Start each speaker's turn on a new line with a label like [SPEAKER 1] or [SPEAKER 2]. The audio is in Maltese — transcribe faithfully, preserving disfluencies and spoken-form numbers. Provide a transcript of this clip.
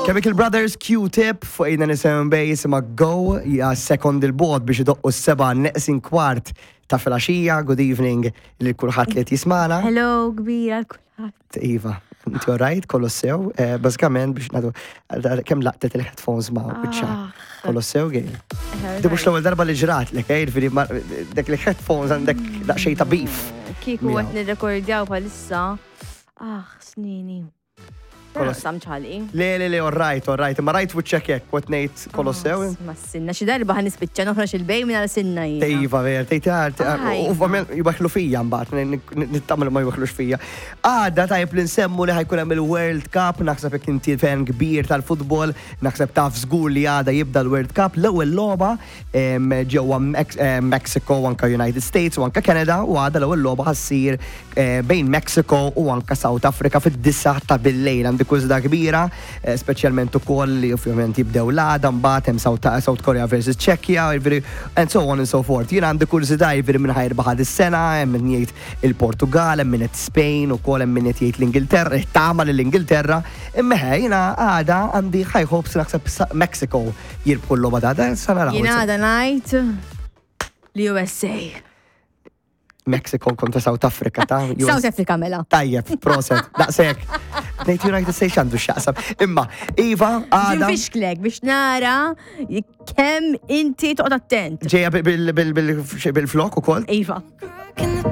[SPEAKER 1] Chemical Brothers, Q-Tip, fuq eight ninety-seven Base ma' Go, ja sekond il-bogħod biex idoqqu s-sebgħa neqsin kwart ta' filgħaxija. Good evening lil kulħadd li qed jismagħna.
[SPEAKER 2] Hello, kbira kulħadd.
[SPEAKER 1] Iva, inti alright, kollu sew. Eh, Bażikament biex nagħtu kemm laqtet il-headphones ma' wiċċha.
[SPEAKER 2] Ah.
[SPEAKER 1] Kollu sew, Gail? Di mhux l-ewwel darba li ġrat lek, eh, jiġifieri ma- dak il-headphones għandek daqsxejn ta' beef
[SPEAKER 2] Kieku
[SPEAKER 1] miegħu.
[SPEAKER 2] qed nirrekordjaw bħalissa. Ah, snini.
[SPEAKER 1] Kollu-
[SPEAKER 2] Samċali.
[SPEAKER 1] Le, le, le, alright, alright, ma rajt wiċċek hekk, qed ngħid kollu sew.
[SPEAKER 2] Ma sinna, xi darba ħa nispiċċa noħroġ il-bej minn għal sinna jiena.
[SPEAKER 1] Iva, ver, tejt
[SPEAKER 2] Aj.
[SPEAKER 1] u ovvjament jwaħħlu fija mbagħad, nittamel ma jwaħħlux fija. Għada tajb li nsemmu li ħa jkun hemm il-World Cup, naħseb jekk inti fan kbir tal-futbol, naħseb taf żgur li għada jibda l-World Cup, l-ewwel logħba em, ġewwa Mex- eh, Mexico u anka United States u anka Canada, u għada l-ewwel logħba ħa ssir eh, bejn Mexico u anka South Africa fid-disgħa ta' billejl. Għandi kurżità kbira, eh, speċjalment ukoll li ovvjament jibdew l-għada, mbagħad hemm South, South Korea versus Czechia, jiġifieri, and so on and so forth. Jiena għandi kurżità jiġifieri minn ħa jirbaħ is-sena, hemm min jgħid il-Portugal, hemm min qed Spain, ukoll hemm min qed jgħid l-Ingilterra, tama l-Ingilterra, imma ħe, jiena għada għandi high hopes, naħseb sa- Mexico jirbħu l-logħba ta' sa naraw.
[SPEAKER 2] Jiena għada ngħid li U S A.
[SPEAKER 1] Mexico kontra South Africa ta'
[SPEAKER 2] South Africa mela.
[SPEAKER 1] Tajjeb, proset, daqsek. Ngħid United States għandu x'jaqsam. Imma, Iva, għada.
[SPEAKER 2] Ġinfixklek biex nara kemm inti toqgħod attent.
[SPEAKER 1] Ġeja bil-flok ukoll?
[SPEAKER 2] Iva.
[SPEAKER 3] In the